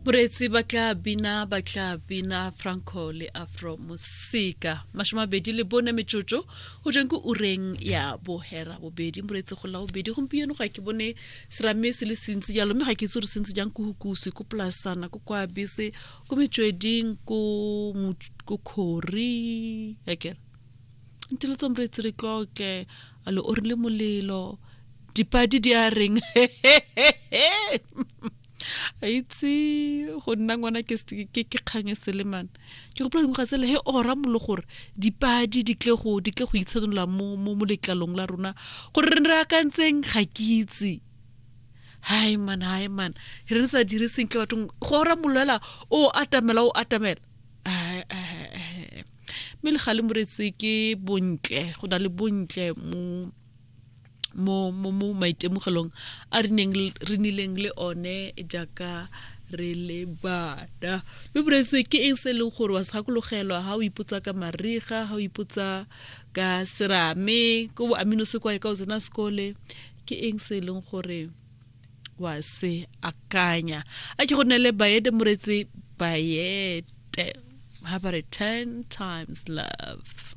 Moreetsi ba tla bina ba tla bina Franco le Afro Mosika 24 metsotso go jeng ko ureng ya bohera bobedi moreetsi go la bobedi gompieno ga ke bone serame se le sentsi jalo mme ga ke itse gore sentsi jang ko hukusi ko polasana ko kwa bese ko metsweding ko ko khori akere nteletsa moreetsi re tlotle a le orile molelo dipadi di a reng a itse go nna ngwana ke ke kgang e selemane ke gopola dingwaga tsele he ora molo gore dipadi di tle go di tle go itshenola mo mo mo letlalong la rona gore re re akantseng ga ke itse hai man hai man re re sa dire sentle bathong go ora mollo hela o atamela o atamela mme le gale moretsi ke bontle go na le bontle mo mo mo mo maitemogelong a re neng re nileng le one jaaka re le bana mme moretsi ke eng se e leng gore wa se gakologelwa ha o ipotsa ka mariga ha o ipotsa ka serame ko bo amino sekwae ka o tsena sekole ke eng se e leng gore wa se akanya a ke go nele bayete moretsi bayete ha ba re 10 times love.